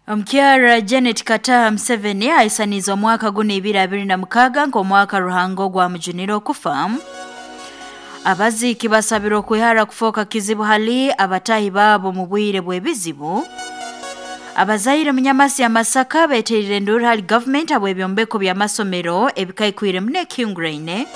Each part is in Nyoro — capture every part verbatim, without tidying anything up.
Omukyara Janet Kataha Museveni aisaniza omwaka guno ibiri abiri na mukaga nk'omwaka Ruhanga ogwamujunire okufa. Abaziiki basabirwe okwihara kufooka kizibu hali abatahi baabo mu bwire bw'ebizibu. Abazaire munyamasi ya Masaka beterire enduru hali gavumenti habw'ebyombeko by'amasomero ebikaikwire muno ekihinguraine.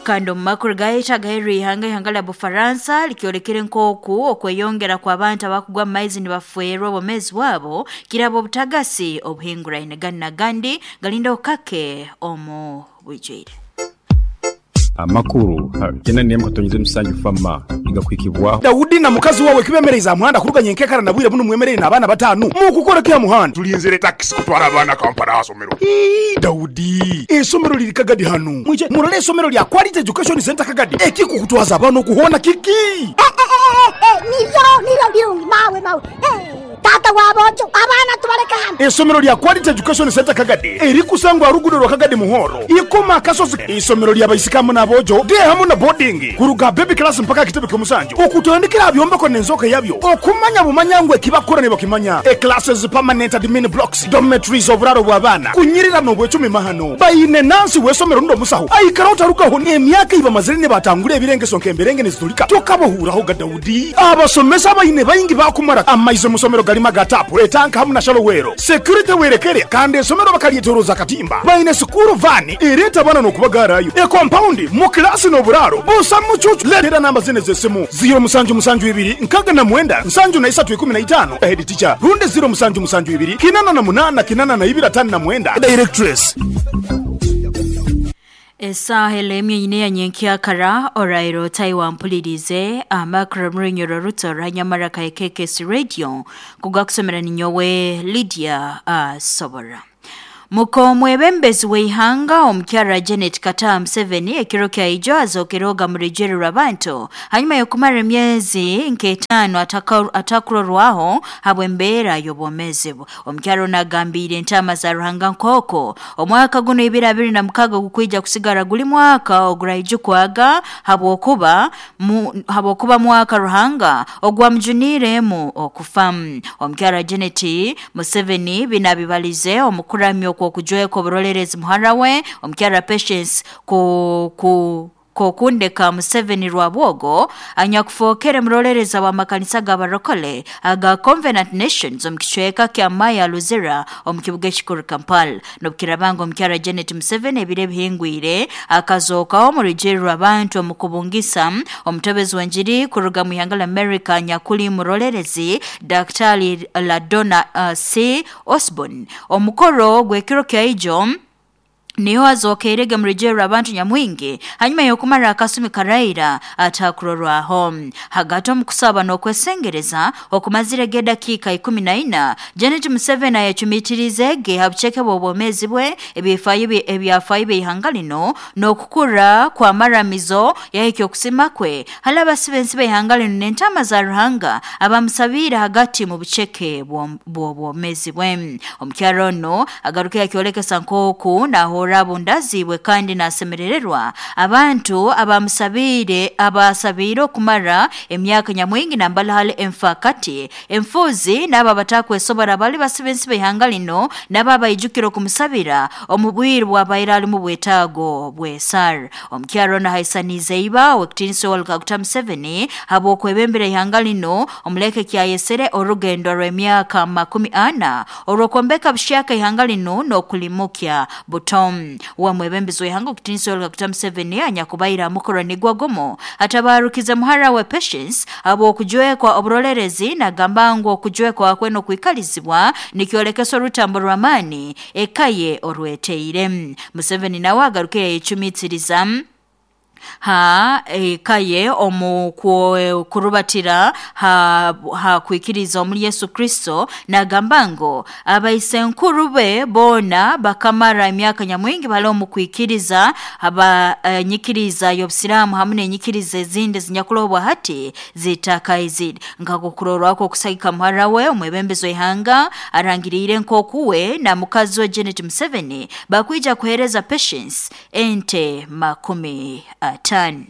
Kandi omu makuru gaitu agaheerire ihanga, ihanga lya Bufaransa likyolekere nk'oku okweyongera kw'abantu abakugwa mu maizi nibafeerwa obwomeezi bwabo kiraba obutagasi obuhinguraine. Ganu n'agandi galindaho kake omu bwijwire. Amakuru kenda nemu katonyeze musanju fama igakwikibwaho. Daudi na mukazi wawe kibemereza muhanda kuruganya enkekara na bwire buno mwemerere n'abaana batanu mukukora kya muhanda. Tulinzire taxi kutwara abaana Kampala asomero. Ii, Daudi, esomero liri Kagadi hano. Mwije murole esomero lya Quality Education Center Kagadi. Ekikukutwaza abaana okuhona kiki? Eh, eh, eh, eh, niryo niryo birungi mawe mawe. Eh, tata wabojo abaana tubaleka hano. Esomero lya Quality Education Center Kagadi erikusangwa rugudo rwa Kagadi Muhoro ikoma akasozi. Isomero lya baisikamu n'abojo de hamu na boarding kuruga baby class mpaka kitebe ky'omusanju okutandikira byombeko n'enzoka yabyo okumanya bumanya ngwe kibakora ne bakimanya. E classes, permanent admin blocks, dormitories, oburaro bw'abaana kunyirira n'obwecumi mahano bayine nansi w'esomero ndo musaho aikara otarugaho emyaka ibamazire ne batangura ebirengeso nk'emberenge nezitulika tokabohuraho ga Daudi. Abasomesa bayine bayingi bakumara amaize musomero galima gatapu etanka hamu na shalowero security werekere kandi esomero bakalyetoroza katimba bayine sukuru vani ereta bana n'okubagarayo e compound mu klasi n'oburaro busa mucucu. Letera namba zine z'essimu ziro musanju musanju ibiri nkaga na mwenda nsanju na isatu ikumi na itano head teacher runde ziro musanju musanju ibiri kinana na munana kinana na ibiri atano na mwenda directress. Esaha elemye nyine ya nyenkyakara orairo Taiwan mpulirize amakuru murunyoro ruto ranyamara ka K K S Radio kugakusomera ninyowe Lydia uh, Sobora. Muko mwebembezi w'ihanga omukyara Janet Kataha Museveni ekiro kya ijo azokeroga murejererwa abantu hanyuma y'okumara emyezi nk'etaano atakurorwaho habw'embeera y'obwomeezi bwe. Omukyara ono agambire entaama za Ruhanga nk'oko omwaka guno ibiri abiri na mukaga gukwija kusigara guli mwaka oguraijukwaga habwokuba habwokuba mwaka Ruhanga ogwamujuniremu okufa. Omukyara Janet Museveni binabibalize omukuramya okujweka oburolerezi muhara we omukyara Patience ku ku kokundeka Museveni Rwabwogo anyakufookere murolereza wa makanisa g'abarokole aga Covenant Nations omu kicweka kya Maya Luzira omu kibuga ekikuru Kampala. N'obukirabanga omukyara Janet Museveni ebiro ebihingwire akazookaho omu rujeerero abantu omu kubungisa omutebezi w'enjiri kuruga mu ihanga lya America nyakuli murolerezi Daktari Ladonna uh, C. Osborne. Omukoro gw'ekiro kya ijo niho azokerege murejerero abantu nyamwingi hanyuma y'okumara akasumi karaira atakurorwaho. Hagati omu kusaba n'okwesengereza okumazire gedakiika ikumi na ina Janet Museveni ayacumitirize ha buceke bw'obwomeezi bwe ebifaayo ebyafaayo by'ihanga lino n'okukura kw'amaramizo yahikya okusima kwe hali abasibe b'ihanga lino n'entaama za Ruhanga abamusabiire hagati mu buceke bw'obwomeezi bwe. Omukyara ono agaruke yakyolekesa nk'oku naho rabundazibwe kandi nasemerererwa abantu abamusabiire abasabiire okumara emyaka nyamwingi nambala hali enfakati enfuzi n'abo abatakwesobora bali basibe b'ihanga lino n'abo abaijukira okumusabira omu bwire bwabaire ali mu bwetaago bw'esara. Omukyara ono ahaisaniize iba owekitiinisa Yoweri Kaguta Museveni habw'okwebembera ihanga lino omuleke kyayesere orugendo rw'emyaka makumi ana orw'okwombeka bushyaka ihanga lino n'okulimukya buto. Wa mwebembezi w'ihanga okutiinisa Yoweri Kaguta Museveni anyakubaire amukoro nigwa gomo atabarukize muhara we Patience habw'okujwekwa oburolerezi nagamba ngu okujwekwa kwe n'okwikalizibwa nikyolekesa orutambo rw'amaani ekaye orweteire. Museveni nawe agaruke yayecumitiriza ha ekaye omu kurubatira ha, ha kwikiriza omuli Yesu Kristo nagamba ngu abaisenkuru be boona bakamara emyaka nyamwingi bali omu kwikiriza aba e, nyikiriza y'obusiraamu hamu n'enyikiriza ezindi zinyakulobwa hati zitakaizire. Nkakukurorwako okusagika muhara we omwebembezi w'ihanga arangiriire nk'okuwe na mukazi we Janet Museveni bakwija kuhereza Patience ente makumi atano.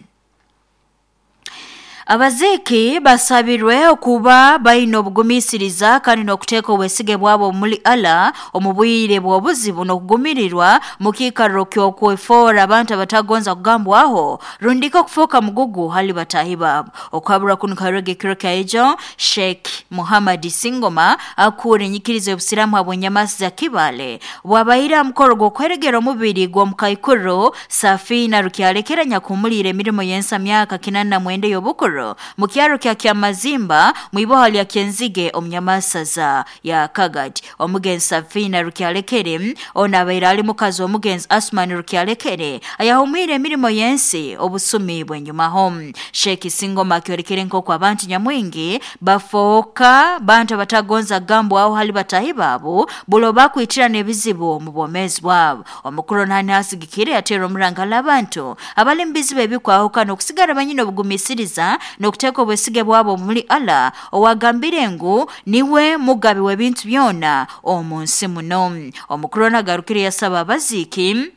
Abaziiki basabirwe okuba baine obugumisiriza kandi n'okuteeka obwesige bwabo omuli Allah omu bwire bw'obuzibu n'okugumirirwa mu kiikaro ky'okwefoora abantu abatagonza kugambwaho rundika okufuuka mugugu hali bataahi baabo. Okuhabura kunu kuhairwege ekiro kya ejo Sheikh Muhammad Singoma akuura enyikiriza y'obusiraamu habw'enyamasi za Kibale bwabaire aha mukoro gw'okweregera omubiri gw'omukaikuru Safina Rukyalekera nyakuhumuliire emirimo y'ensa myaka kinana na mwenda ey'obukuru mu kyaro kya Kyamazimba mwiboha lya Kyenzige omunyamasaza ya Kagadi. Omugenzi Safina Rukyalekere ono abaire ali mukazi w'omugenzi Asman Rukyalekere ayahumwire emirimo y'ensi obusumi bw'enyumaho. Sheikh Singoma akyolekere nk'oku abantu nyamwingi bafooka bantu abatagonza kugambwaho hali batahi baabo bulo bakwitirana ebizibu omu bwomeezi bwabo. Omukuru nani asigikire yateera omurangala abantu abali mu bizibu ebikwahukana okusigara banyine obugumisiriza n'okuteeka obwesige bwabo omuli Allah owagambire ngu niwe mugabi w'ebintu byona omu nsi muno. Omukuru nagarukire yasaba abaziiki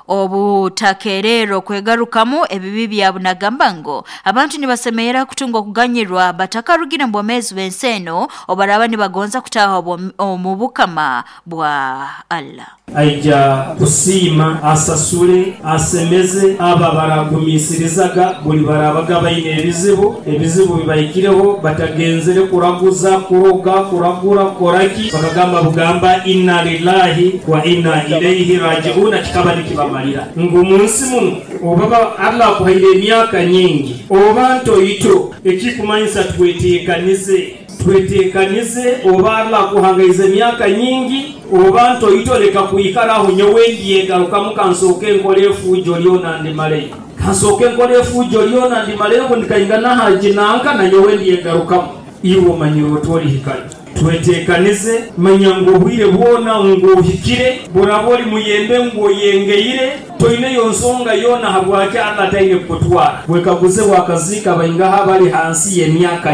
obutakerero kwegarukamu ebibi byabo nagamba ngo abantu nibasemerera kutunga okuganyirwa batakarugire mu bwomeezi bw'ensi eno obaraba nibagonza kutaaha omu bukama bwa Allah. Aija kusiima asasule asemeze aba baragumisirizaga buli barabaga baine ebizibu ebizibu bibahikireho batagenzere kuraguza kuroga kuragura koraki bakagamba bugamba inna lillahi wa inna ilaihi raji'una kikaba nikibamalira ngu munsi muno obaba Allah akuhaire emyaka nyingi oba ntoito ekikumanyisa tweteekanize tweteekanize oba Allah akuhangaize emyaka nyingi oba ntoito leka kwikaraho nyowe ndyegarukamu kansooke nkole efuujo lyona ndimaleyo kansooke nkole efuujo lyona ndimaleyo ngu ndikaingana haji nanka na nyowe ndyegarukamu iwe omanyire otwolihikayo. Tweteekanize manya ngu obwire bwona ngu ohikire buraba oli muyembe ngu oyengeire toineyo nsonga yoona habwaki Allah taine kukutwara. Wekaguze wakaziika baingaha bali hansi y'emyaka